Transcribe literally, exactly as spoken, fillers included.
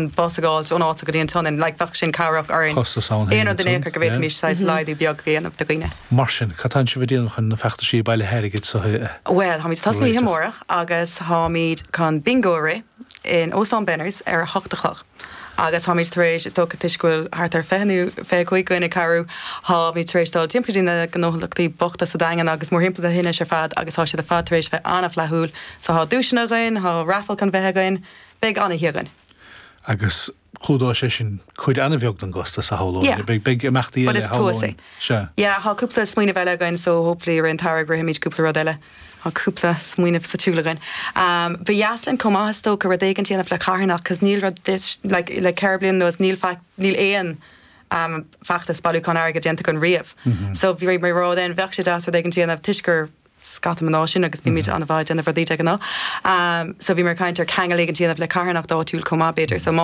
bus a fháil ón áit go dtí an tSionainn, like bheadh sin cabhrach orainn. Costas ann Aon rud in aon chor go bhféadfaimis saghas laghdú beag a dhéanamh do dhaoine. Mar sin, cad atá sibh ag déanamh chun na feachtaisí bailithe airgid so Well, táimid tosaithe amárach agus táimid chun bingo a rith in Óstán Benners ar a hocht a chlog. Agus táimid tar éis is dócha toisc go bhfuil thart ar fiche nó fiche cúig dhuine ag cabhrú, táimid tar éis dul timpeall go dtí na gnólachtaí bochta sa Daingean agus mórthimpeall na hInis ar fad agus tá siad ar fad tar éis bheith an-fhlaithiúil, so tá duaiseanna againn, tá raffle chun bheith againn, beidh an-oíche againn. agus clúdóidh sé sin cuid an-bheag den gcostas a shamhlóinn. Yeah. Beidh beidh imeachtaí But eile is tús é. Se. Yeah, tá cúpla smaoineamh eile againn so hopefully ar an targ rithimid cúpla rud eile. Tá cúpla smaoineamh sa tsiúl againn. Um, Ba dheas linn chomh maith is dócha rud éigin a dhéanamh le carthanacht, cos níl rud like, le ceithre bliana anuas níl níl aon um, feachtas bailiúchán airgid déanta againn riamh. Mm -hmm. So bhí mé rá den bheadh sé deas rud éigin a dhéanamh toisc gur scata mná sinn agus bímid mm -hmm. an-mhaith déanamh rudaí de ghnáth. Um, so bhí mar caint ar ceangal éigin a dhéanamh le carthanacht áitiúil chomh maith b'fhéidir, so má